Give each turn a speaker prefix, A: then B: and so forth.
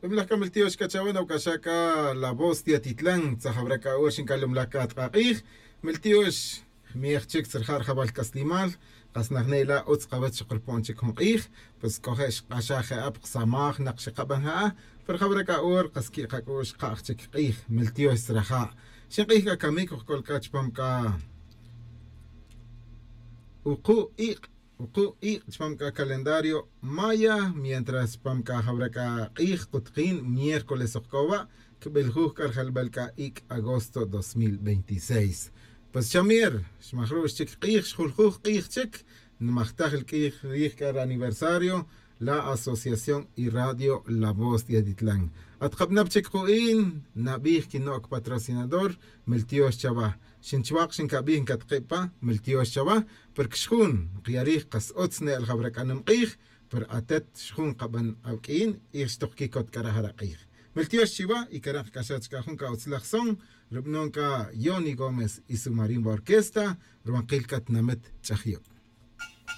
A: Tumlaj kachawan awkashaka La Voz de Atitlán, tzajabraka urshin kalumlaka tqaq'ij, miltiox miej chik tzerjar jabal kaslimal, qasnajnela utz qawach qurpon chik jun q'ij, pues kojex q'axaje ap qsamaj naq xiqab'an ja'a, pero jabraka ur qaski qak'ux qa'j chik q'ij, miltiox tzraja. Xin q'ij k'a kamik uqkolka chpam ka uqu iq' uqu iq' chpam ka calendario maya, mientras chpam ka jabraka q'ij qutqin miércoles uqkowa, kb'eljuj k'arjalb'al ka ik' agosto 2026. Pues Chamir, xmajrux chik q'ij, xjuljuj q'ij chik, nmajtaj el q'ij rij k'ar aniversario, la Asociación y Radio La Voz de Atitlán. Atqab'nab' chik qu'in, nab'ij kinok patrocinador, miltiox chawa. Xinchwaq xinkab'ij nkatqib'pa, miltiox chawa, porque xjun qyarij qas utz ne'l jabrak'anum q'ij, per atet xjun qab'an awk'in, ij xtuqkikot k'arajara q'ij. Miltiox chiwa y karaj k'axach ka jun ka utzlaj son, rub'non ka Johnny Gómez y su marimba orquesta, ruwanqil katnamet ch'ajyo.